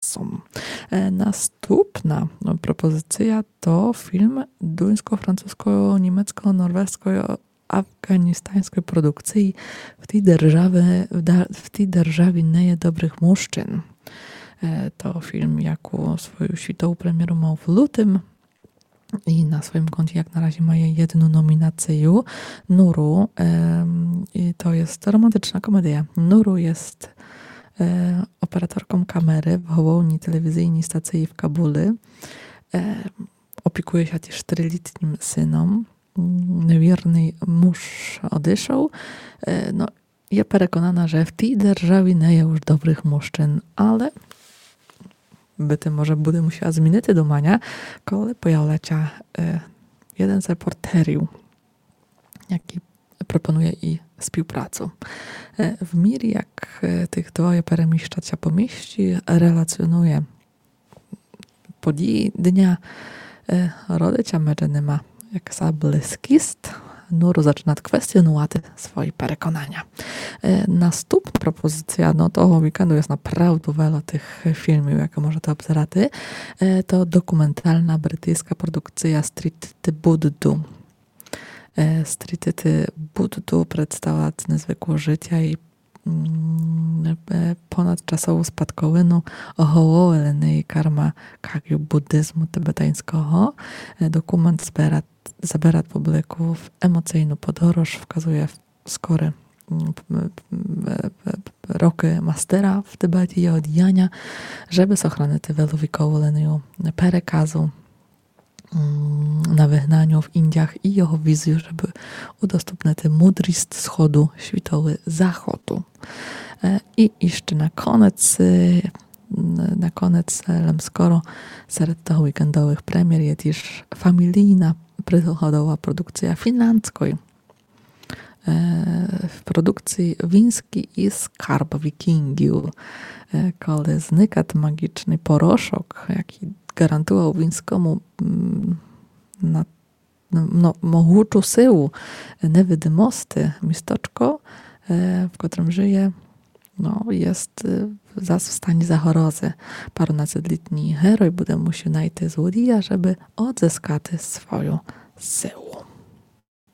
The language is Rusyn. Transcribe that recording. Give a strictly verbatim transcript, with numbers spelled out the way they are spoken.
Сом. Е, наступна, но, пропозиція то фільм дуйско-французько-німецько-норвежьско-афґаністаньской продукциі. В тій державі, в да-, в тій державі не є добрых мужчин. Е, то фільм, яку свою світову премєру мав в лютым. І на своїм конті, як на разі, має єдну номінацию. Нуру, ем, і то є романтична комедія. Нуру є, е, операторком камеры в головній телевізійній стациі в Кабулі. Е, опікує ся тіж трилітнім сыном. М, невірный муж одышов. Е, но, є переконана, же в тій державі не є уж добрых мужчин, але быти може буде мусіла змінити думаня, коли появлять ся, е, єден з репортерів, якый пропонує ій співпрацу. Е, в мірі, як, е, тых двоє переміщать ся по місті, релаціонує події дня, е, родить ся меджи нима якысий близкіст, Нуру зачынат квестіонувати свої переконаня. Е, наступна пропозиція, но, того вікенду є направду вельо тых фільмів, якы можете обзерати. Е, то документална бритійска продукція Стрітити Будду. Е, Стрітити Будду представлят незвыклость жытя і, м, е, понадчасову спадковину головы лінії карма кагю буддизму тибетаньского. Е, документ зберат, заберат публіку в емоцийну подорож, вказує скоры, м, п-, м, е, е, рокы мастера в Тибеті, його діяня, жебы сохранити веловікову лінію переказу, м, на выгнаню в Індіях і його візію, жебы удоступнити мудріст сходу світови заходу. Е, і іщы на конець, е, н-, на конець, е, лем скоро серед того вікендовых премєр є тіж фамілійна пригодова продукція фінландской. Е, в продукциі Віньскій скарб вікінґів, е, коли зникат маґічный порошок, якый гарантувал Віньскому, м, на, но, могучу силу невидимости, місточко, е, в котрым жыє, но, єст, е, зас в стані загрозы. Паронадцетлітній герой буде мусіл найти злодія, жебы одзыскати свою силу.